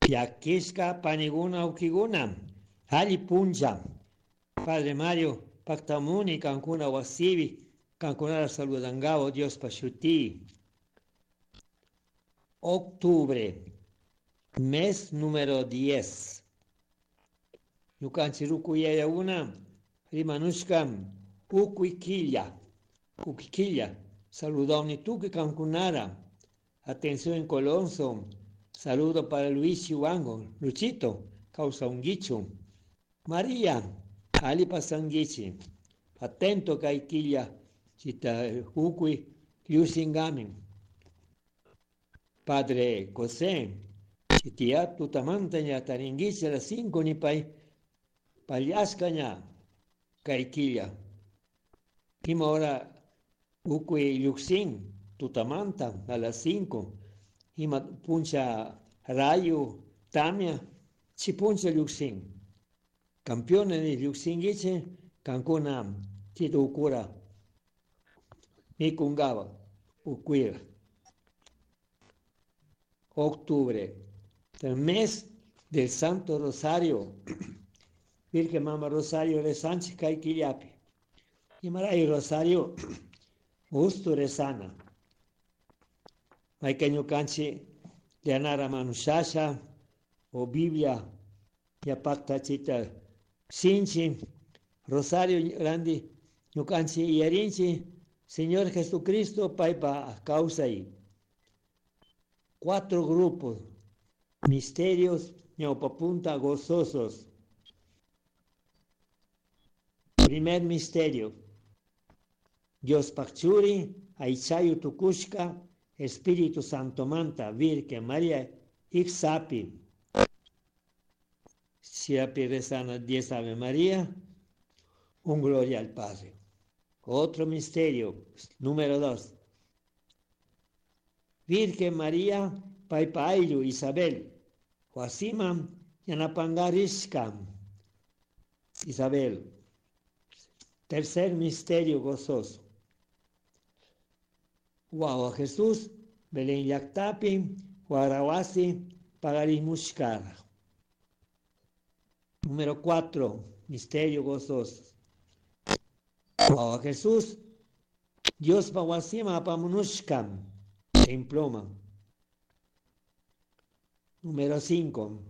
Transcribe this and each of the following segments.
Llakishka paniguna ukiguna, alli punlla. Padre Mario, paktamuni kankuna wasipi, kankunara saludangawa Diospa shuti. Octubre, mes número 10. Ñukanchik ruku yayakuna rimanushka ukuy killa, ukuy killa, saludawni tukuy kankunara. Atención en Colonso, saludo para Luis Chihuango, Luchito, kawsankichu. María, alli pasanguichi. Atento kay killa, chita ukuy llukshinkamin. Padre José, chitia tutamanta ña taringuichi a las 5 nipay pallashka ña kay killa. Ima hora ukuy llukshin tutamanta a las 5. Ima puncha rayo, tamia, chi puncha llukshin. Campeones llukshinguichi, kankuna chita ukura mikungawa ukuira. Octubre, el mes del Santo Rosario. Virgen Mama Rosario rezanchik kay killapi. Imaray Rosario gusto rezana. Mayka ñukanchik llanara manushasha o Biblia yapakta chita sinchi Rosario randi ñukanchik iyarinchik Señor Jesucristo paypa kawsay. Cuatro grupos, misterios ñawpapunta gozosos. Primer misterio, Diospaj churi aychayu tukushka Espíritu Santomanta Virgen María iksapi. Siapi rezana 10 Ave María, un gloria al Padre. Otro misterio, número 2. Virgen María, paypa ayllu Isabel, wasiman yanapangarishka. Isabel. Tercer misterio gozoso. Wawa Jesús, Belén llaktapi, Huarawasi, pagarimushkara. Número 4, misterio gozoso. Wawa Jesús, Diospa wasima apamunushka, temploma. Número 5,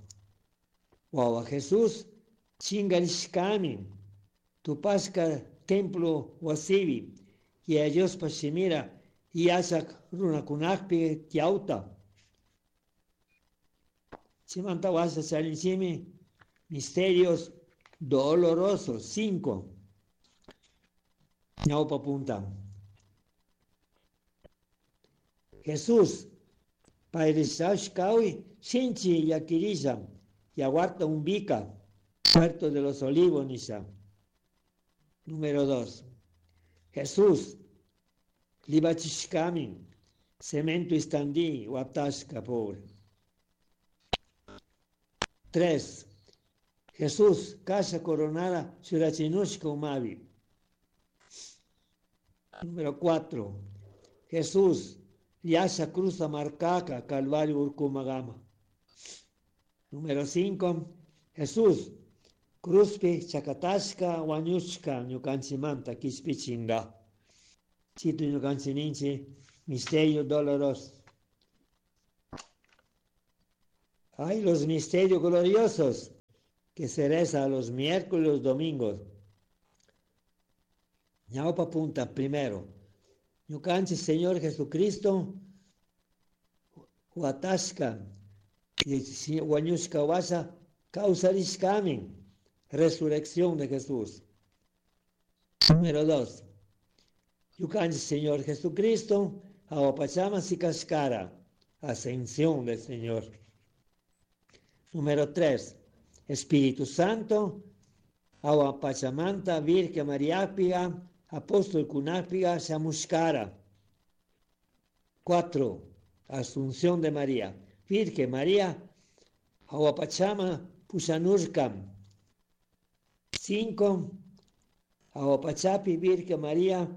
Wawa Jesús, chingarishkami, tupashka templo wasipi, y Diospa shimira, yachak runakunakpi tiyawta. Chimanta washa charinchimi, misterios dolorosos, 5. Ñawpa punta. Jesús, pay shinchi llaquirisha, yawarta umbika, Puerto de los Olivos, nisha. Número 2. Jesús, libachishkami, cemento istandi, watashka, pobre. 3. Jesús, kasha coronada, churachinushka umapi. Número 4. Jesús, llasha cruza marcaka, Calvario urkumagama. Número 5. Jesús, cruzpi chakatashka, wañushka, ñukanchimanta, kishpichinga. Chito ñukanchik ninchik, misterio doloroso. Hay los misterios gloriosos que se reza los miércoles y los domingos. Ñawpa punta primero. Ñukanchik Señor Jesucristo, huatashka, wañushka washa, kawsarishkami, resurrección de Jesús. Número 2. Ñukanchik Señor Jesucristo, jahua sikashkara, ascensión del Señor. Número 3. Espíritu Santo, jahua pachamanta, Virgen María Apóstol kunapiga, shamushkara. 4. Asunción de María. Virgen María, jahua pachama, pushanurkam. 5. Jahua pachapi, Virgen María,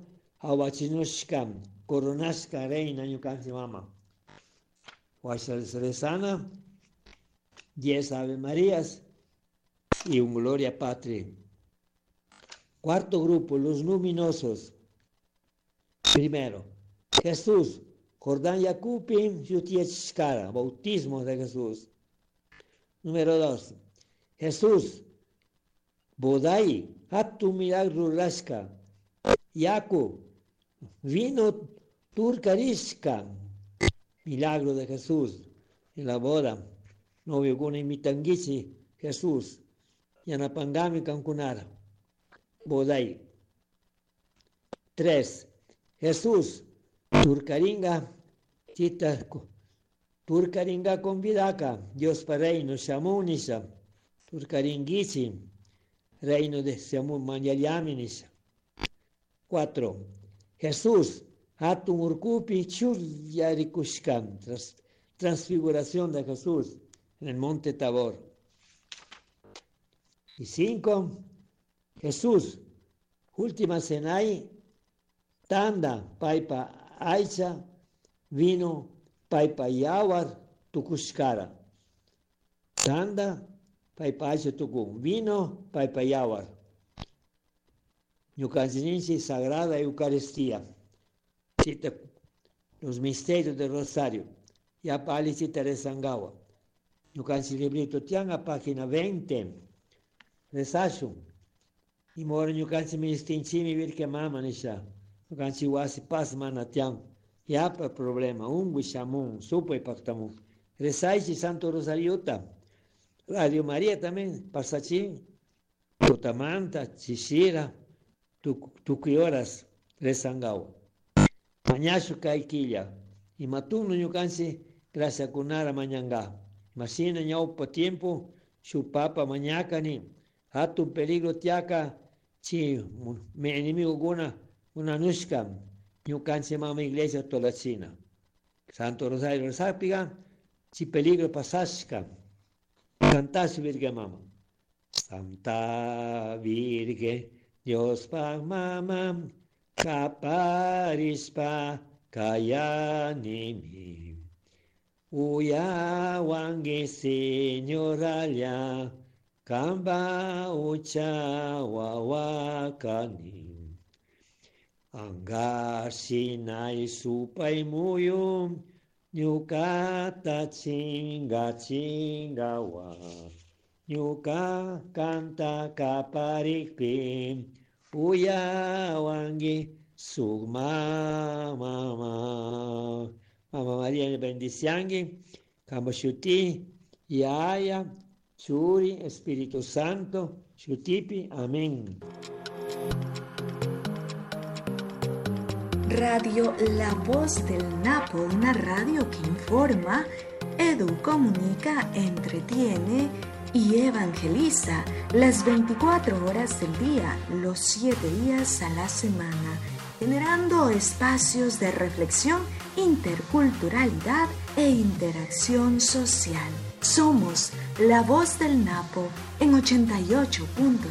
awachinushkam, coronashka reina ñukanchik mama. Washa rezana. 10 Ave Marías y un Gloria Patri. Cuarto grupo, los luminosos. Primero, Jesús, Jordán Yacupi, Yutiechkara, bautismo de Jesús. Número 2, Jesús, Bodai, Hatu milagro rurashka, Yaku, vino turkarishka, milagro de Jesús en la boda. Novio kuna imitanguichi Jesús, yanapangami kankunara, Bodai. 3. Jesús, turkaringa, chita, turkaringa convidaca, Dios pa reino, shamunisha, turkaringuichi, reino de shamun mañayami nisha. 4. Jesús, hatun urkupi churyarikushkan, transfiguración de Jesús en el monte Tabor. Y 5. Jesús, última cenai, tanda, paipa aicha, vino, paipa yawar, tukushkara. Tanda, paipa aicha tukun, vino, paipa yawar. Ñukanchis Sagrada Eucaristía. Chita, los misterios del Rosario. Ya pali chita rezangawa. Ñukanchis librito tianga, página 20. Rezashun. Y mora ñukanchis ministinchimi virke mama nisha. Ñukanchis wasi paz mana tiang. Yapa problema, ungui shamun, supay pactamun. Rezaichi Santo Rosariota. Radio María también, pasachín, Tutamanta, Chishira, tukuy horas rezangawa. Mañashu kay quilla. Y matuno ñukanchis gracias kunara mañanga. Masina ñaupa tiempo, su papa mañacani, hatun peligro tiaca, chi mi enemigo guna, una nushka, ñukanchis mama iglesia tolachina. Santo Rosario Rezapiga, chi peligro pasashka. Cantasu Virgen Mama. Santa Virgen, Dios pa mama, kaparispa kayanimi. Uyawangi señoralla, kamba ucha wawakani. Angashinai supay muyum, ñukata chinga chingawa. Ñuka canta kaparikpi, uyawangi sugma mama. Mama María bendiciangi, Kambashuti, Yaya, Churi, Espíritu Santo, Shutipi, amén. Radio La Voz del Napo, una radio que informa, edu, comunica, entretiene y evangeliza las 24 horas del día, los 7 días a la semana, generando espacios de reflexión, interculturalidad e interacción social. Somos La Voz del Napo en 88.5